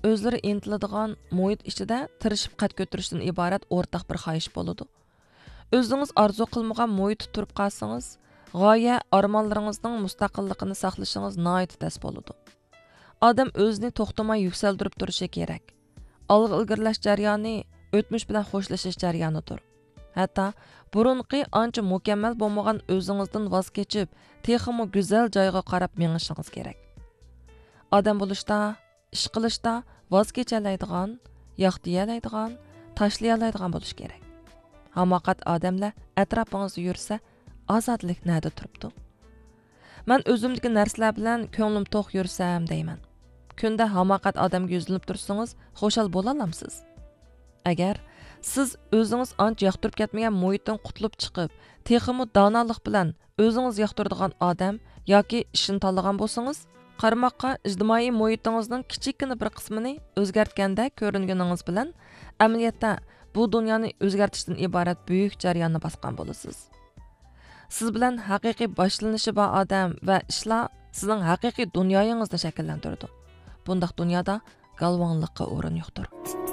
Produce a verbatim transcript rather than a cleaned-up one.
ئۆزلىرى ئىنتىلىدىغان مۇھىت ئىچىدە تىرىشىپ قەد كۆتۈرۈشتىن ئىبارەت ئورتاق بىر خاھىش بولىدۇ. ئۆزىڭىز ئارزۇ قىلمىغان مۇھىتتا تۇرۇپ قالسىڭىز، غايە، ئارمانلىرىڭىزنىڭ مۇستەقىللىقىنى ساقلىشىڭىز ناھايىتى تەس بولىدۇ. ئادەم ئۆزىنى توختىماي يۈكسەلدۈرۈپ تۇرۇشى كېرەك. ئالغا ئىلگىرىلەش جەريانى ئۆتمۈش بىلەن خوشلىشىش جەريانىدۇر. ھەتتا بۇرۇنقى ئانچە مۇكەممەل بولمىغان ئۆزىڭىزدىن ۋاز كېچىپ، تېخىمۇ گۈزەل جايغا قاراپ مېڭىشىڭىز كېرەك. ئادەم بولۇشتا، ئىش قىلىشتا ۋاز كېچەلەيدىغان، ياق دېيەلەيدىغان، تاشلىيالايدىغان بولۇش كېرەك. ھاماقەت ئادەملەر ئەتراپىڭىزدا يۈرسە، ئازادىلىك نەدە تۇرۇپتۇ؟ مەن ئۆزۈمدىكى نەرسىلەر بىلەن كۆڭلۈم توق يۈرسەم دەيمەن. كۈندە ھاماقەت ئادەمگە يۈزلىنىپ تۇرسىڭىز، خۇشال بولالامسىز؟ ئەگەر سىز ئۆزىڭىز ئانچە ياقتۇرۇپ كەتمىگەن مۇھىتتىن قۇتۇلۇپ چىقىپ، تېخىمۇ دانالىق بىلەن ئۆزىڭىز ياقتۇرىدىغان ئادەم ياكى ئىشنى تاللىغان بولسىڭىز، قارىماققا ئىجتىمائىي مۇھىتىڭىزنىڭ كىچىككىنە بىر قىسمىنى ئۆزگەرتكەندەك كۆرۈنگىنىڭىز بىلەن، ئەمەلىيەتتە بۇ دۇنيانى ئۆزگەرتىشتىن ئىبارەت بۈيۈك جەرياننى باسقان بولىسىز. سىز بىلەن ھەقىقىي باشلىنىشى بار ئادەم ۋە ئىشلار سىزنىڭ ھەقىقىي دۇنيايىڭىزنى شەكىللەندۈرىدۇ. بۇنداق دۇنيادا گالۋاڭلىققا ئورۇن يوقتۇر.